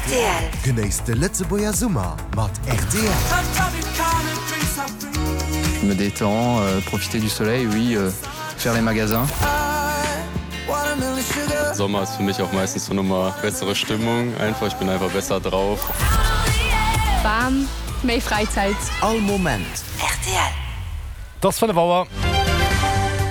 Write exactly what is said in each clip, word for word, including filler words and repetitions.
Rtl. Genéisst de Lëtzebuerger Summer mat rtl. Je me détends, euh, profiter du soleil, oui, euh, faire les magasins. Sommer ist für mich auch meistens so nochmal bessere Stimmung einfach ich bin einfach besser drauf. Bam, méi Fräizäit. All Moment. Rtl. 't ass fënnef Auer.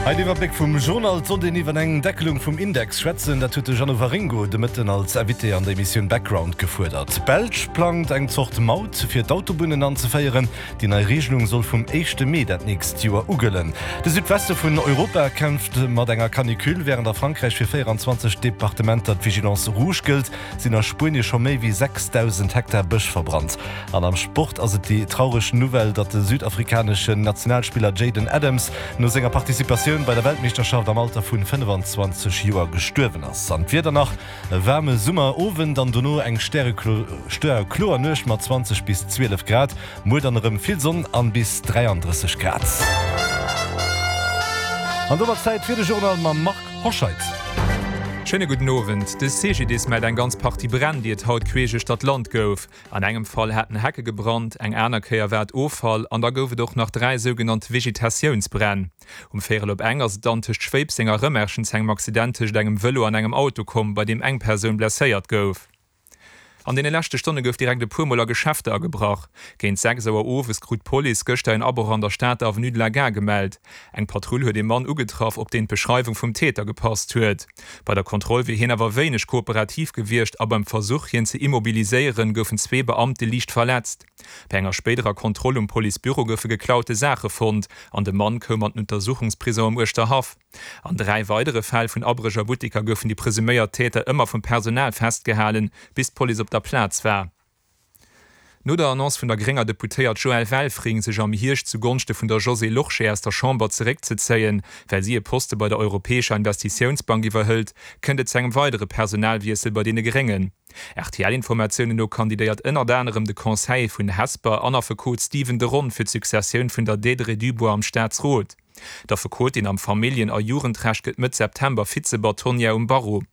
Hei den Iwwerbléck vum Journal. Et sollt een iwwer eng Deckelung vum Index schwätzen, dat huet de Jeannot Waringo de Mëtten als Invité an der Emissioun Background gefuerdert. D'Belsch plangt eng Zort Maut fir d'Autobunnen anzeféieren. Déi nei Regelung soll vum éischte Mee dat nächst Joer ugëllen. De Südweste vun Europa kämpft mat enger Canicule. Wärend a Frankräich fir véieranzwanzeg Departementer d'Vigilance rouge gëllt, sinn a Spuenie scho méi wéi sechsdausend Hektar Bësch verbrannt. An am Sport ass et déi traureg Nouvelle, datt de südafrikaneschen Nationalspiller Jayden Adams no senger Participatioun bei der Weltmeeschterschaft am Alter vun fënnefenzwanzeg Joer gestuerwen ass. An d'Wieder nach, E waarme Summerowend an dono eng stärekloer Nuecht mat zwanzeg bis zwielef Grad. Muer dann erëm vill Sonn an bis dräiandrësseg Grad. An domat Zäit fir de Journal mam Marc Hoscheid. Schéine gudden Owend. De C G D I S mellt eng ganz Partie Bränn, déi et haut queesch uechter d'Land gouf. An engem Fall hätten Hecke gebrannt, eng aner Kéier war et Offall an da gouf et och nach dräi sougenannt Vegetatiounsbränn. Um Véierel op eng ass et dann tëscht Schwéipseng a Rëmerschen zu engem Accident tëscht engem Vëlo an engem Auto komm, bei deem eng Persoun blesséiert gouf. An deene leschte Stonne gouf direkt e puer Mol a Geschäfter agebrach. Géint sechs Auer owes krut d'Police gëschter en Abroch an der Stater Avenue de la Gare gemellt. Eng Patrull huet ee Mann ugetraff, op deen d'Beschreiwung vum Täter gepasst huet. Bei der Kontroll wier hien awer wéineg kooperativ gewiescht a beim Versuch, hien ze immobiliséieren, goufen zwee Beamte liicht verletzt. Bei enger spéiderer Kontroll um Policebüro goufe geklaute Saache fonnt an de Mann koum an den Untersuchungsprison am Uerschterhaff. An dräi weidere Fäll vun Abréch a Butteker goufen déi presuméiert Täter ëmmer vum Personal festgehalen, bis d'Police op der Plaz war. No der Annonce vun der grénger Deputéiert Joëlle Welfring, sech am Hierscht zu Gonschte vun der Josée Lorsché aus der Chamber zeréckzezéien, well si e Poste bei der Europäescher Investitiounsbank iwwerhëlt, kënnt et zu engem weidere Personalwiessel bei deene Gréngen. R T L-Informatiounen no kandidéiert ënnert anerem de Conseiller vun Hesper an Affekot Stephen de Ron fir d'Successioun vun der Deirdre Dubois am Staatsrot. D'Affekotin am Familljen a Jugendrecht gëtt Mëtt September Vize-Bâtonnière um Barreau.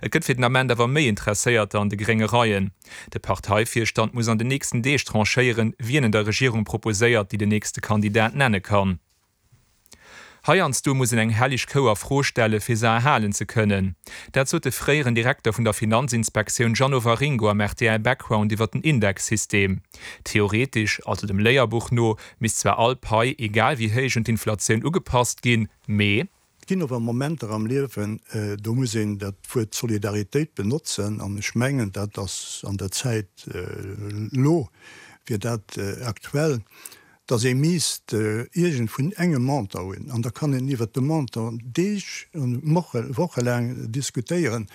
Et gëtt fir den Ament awer méi Interesséierter an de grénge Reien. De Parteivirstand muss an den nächsten Deeg tranchéieren, wien en der Regierung proposéiert, déi den nächste Kandidat nenne kann. Heiansdo muss een eng helleg Kou a Fro stelle fir se erhalen ze kënnen. Dat sot de fréieren Direkter vun der Finanzinspektioun Jeannot Waringo am R T L Background iwwer den Indexsystem. Theoretesch, also dem Léierbuch no, misst zwar all Pai, egal wéi héich, un d'Inflatioun ugepasst ginn, mee. Et ginn awer Momenter am Liewen, do muss een dat Wuert Solidaritéit benotzen, an ech mengen, dat ass an der Zäit elo, wier dat aktuell, dass ee misst iergend vun engem Montant hunn, an da kann een iwwert de Montant Deeg an wochelaang diskutéieren,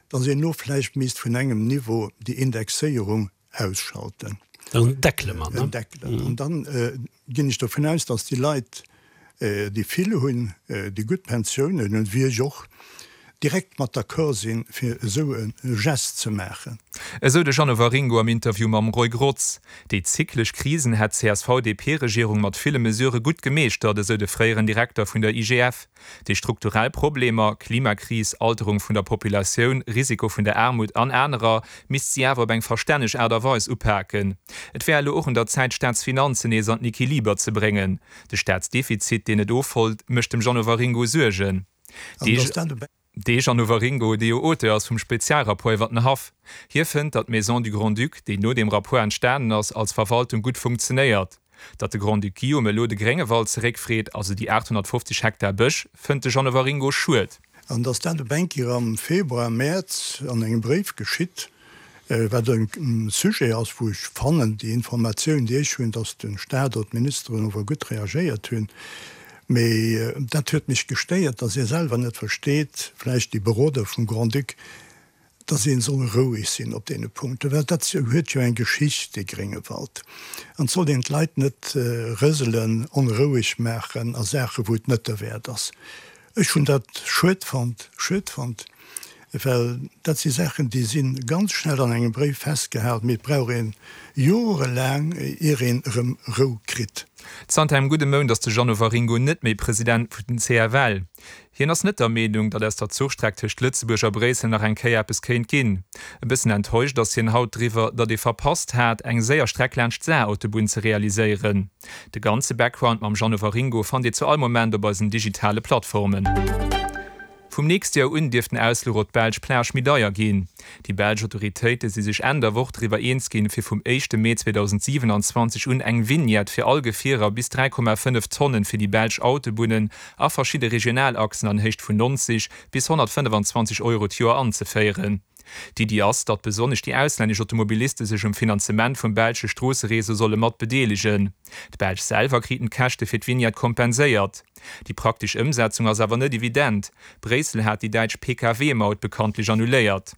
dass een elo vläicht misst vun engem Niveau déi Indexéierung ausschalten. En deckele man, ne? En deckelen. An dann ginn ech dovun aus, dass déi Leit, déi vill hunn, déi gutt Pensiounen hunn, wéi ech och, direkt mat d'accord sinn, fir esou e Gest ze maachen. Esou de Jeannot Waringo am Interview mam Roy Grotz. Déi zyklesch Krisen hätt d'C S V D P-Regierung mat ville Mesurë gutt gemeeschtert, esou de fréieren Direkter vun der I G F. Déi strukturell Problemer, Klimakris, Alterung vun der Populatioun, Risiko vun der Aarmut an anerer, misst si awer op eng verstänneg Aart a Weis upaken. Et wär elo och un der Zäit, d'Staatsfinanzen nees an den Equiliber ze bréngen. De Staatsdefizit, deen net ofhëlt, mécht dem Jeannot Waringo Suergen. De Jeannot Waringo, dee jo Auteur ass vum Spezialrapport iwwer den Haff. Hie fënnt, datt d'Maison du Grand-Duc, déi no deem Rapport entstanen ass, als Verwaltung gutt funktionéiert. Datt de Grand-Duc Guillaume elo de Gréngewald zeréckfreet, also déi aathonnertfofzeg Hektar Bësch, fënnt de Jeannot Waringo schued. An datt dat op eng Kéier am Februar, Mäerz an engem Bréif geschitt, wat e Sujet ass, wou ech fannen, déi Informatioun, déi ech hunn, datt de Staat oder d'Ministeren ower gutt reagéiert hunn. Mee dat huet mech gestéiert, datt ee selwer net versteet, vläicht déi Beroder vum Grand-Duc, datt ee soll roueg sinn op deene Punkten, well dat huet jo eng Geschicht, dee Gréngewald. An et sollt een d'Leit net rëselen, onroueg maachen a Saachen, wou et net derwäert ass. Ech hunn dat schued fonnt, schued fonnt, well dat si Saachen, déi si ganz schnell an engem Bréif festgehalen, mee et brauch ee jorelaang, ier een erëm Rou kritt. Zanter engem gudde Mount ass de Jeannot Waringo net méi President vun den C F L. Hien ass net der Meenung, datt aus der Zuchstreck tëscht Lëtzebuerg a Bréissel nach eng Kéier eppes kéint ginn. E bëssen enttäuscht ass hien haut driwwer, datt ee verpasst hat, eng séier Streck laanscht d'Saar-Autobunn ze realiséieren. De ganze Background mam Jeannot Waringo fannt Dir zu all Moment op eisen digitale Plattformen. Vum nächste Joer un dierft den Ausfluch op d'belsch Plage méi deier ginn. Déi belsch Autoritéite si sech Enn der Woch driwwer eens ginn, fir vum éischte Mee zweedausendsiwenanzwanzeg un eng Vignette fir all Gefierer bis dräi Komma fënnef Tonnen fir déi belsch Autobunnen a verschidde Regionalachsen an Héicht vun neunzeg bis honnertfënnefanzwanzeg Euro d'Joer anzeféieren. D'Iddi ass, datt besonnesch déi auslännesch Automobiliste sech um Finanzement vum belsche Stroossereseau solle mat bedeelegen. D'Belsch selwer kriten d'Käschte fir d'Vignette kompenséiert. Déi praktesch Ëmsetzung ass awer net evident. Bréissel hat déi däitsch P K W-Maut bekanntlech annuléiert.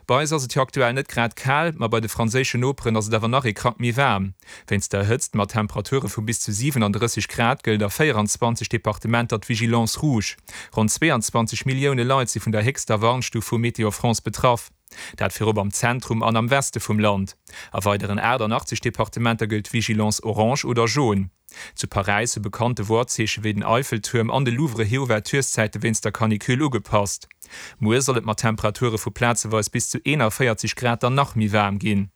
Bei eis ass et jo aktuell net grad kal, ma bei de franséischen Noperen ass et awer nach ee Krack méi waarm. Wéinst der Hëtzt mat Temperature vu bis zu siwenandrësseg Grad gëllt a véieranzwanzeg Departementer d'Vigilance rouge. Ronn zweeanzwanzeg Millioune Leit si vun der héchster Warnstuf vu Météo France betraff. Dat virop am Zentrum an am Weste vum Land. A weideren aachtannachtzeg Departementer gëllt d'Vigilance orange oder jaune. Zu Paräis hu bekannte Wortzeeche wéi den Eiffeltuerm an de Louvre hir Ouvertureszäite wéinst der Canicule ugepasst. Muer soll et mat Temperature vu plazeweis bis zu eenanvéierzeg Grad dann nach méi waarm ginn.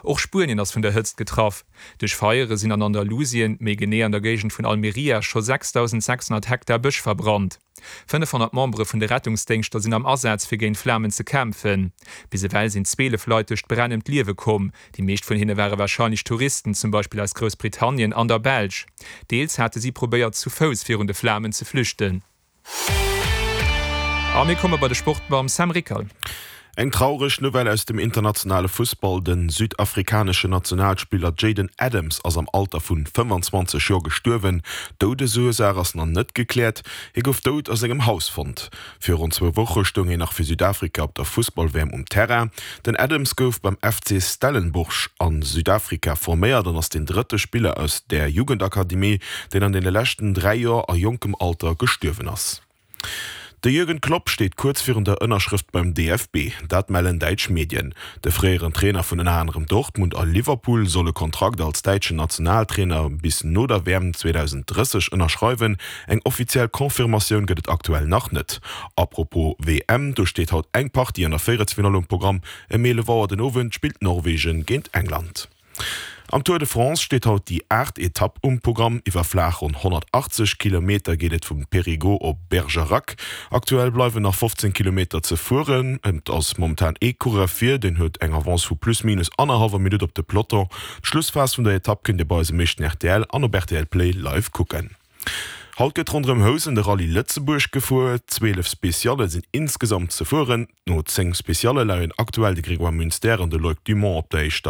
Och Spuenien ass vun der Hëtzt getraff. Duerch Feiere sinn an Andalusien, méi genee an der Géigend vun Almería, scho sechsdausendsechshonnert Hektar Bësch verbrannt. Fënnefhonnert Membere vun de Rettungsdéngschter sinn am Asaz fir géint d'Flamen ze kämpfen. Bis ewell sinn zwielef Leit duerch d'Bränn ëm d'Liewe komm. Déi meescht vun hinne ware warscheinlech Touristen, zum Beispill aus Groussbritannien an der Belsch. Deels hate si probéiert zu Fouss virun de Flamen ze flüchten. A mir komme bei de Sport mam Sam Rickel. Eng traureg Nouvelle aus dem internationale Fussball, De südafrikaneschen Nationalspiller Jayden Adams ass am Alter vun fënnefanzwanzeg Joer gestuerwen. D'Doudesursaach ass nach net gekläert. Hie gouf dout a sengem Haus fonnt. Virun zwou Woche stoung hien nach fir Südafrika op der Fussball-W M um Terrain. Den Adams gouf beim F C Stellenbosch a Südafrika forméiert an ass den drëtte Spiller aus der Jugendakademie, deen an deene leschten dräi Joer a jonkem Alter gestuerwen ass. De Jürgen Klopp steet kuerz virun der Ënnerschrëft beim D F B, dat mellen däitsch Medien. De fréieren Trainer vun ënner anerem Dortmund a Liverpool soll e Kontrakt als däitschen Nationaltrainer bis no der W M zweedausendrësseg ënnerschreiwen. Eng offiziell Confirmatioun gëtt et aktuell nach net. Apropos W M, do steet haut eng Partie an der Véierelsfinall um Programm. Ëm eelef Auer den Owend spillt Norwegen géint England. Am Tour de France steet haut déi aacht Etapp um Programm. Iwwer flaach ronn honnertachtzeg Kilometer geet et vum Périgueux op Bergerac. Aktuell bleiwen nach fofzéng Kilometer ze fueren. Et ass momentan ee Coureur vir, deen huet eng Avance vu plus minus annerhallwer Minutt op de Peloton. D'Schlussphas vun der Etapp kënnt Dir bei eisem meeschten R T L an op R T L Play live kucken. Haut gëtt ronderëm Housen de Rallye Lëtzebuerg gefuer. Zwielef Specialle sinn insgesamt ze fueren. No zéng Specialle leien aktuell de Grégoire Munster an de Loïc Dumont op der éischter.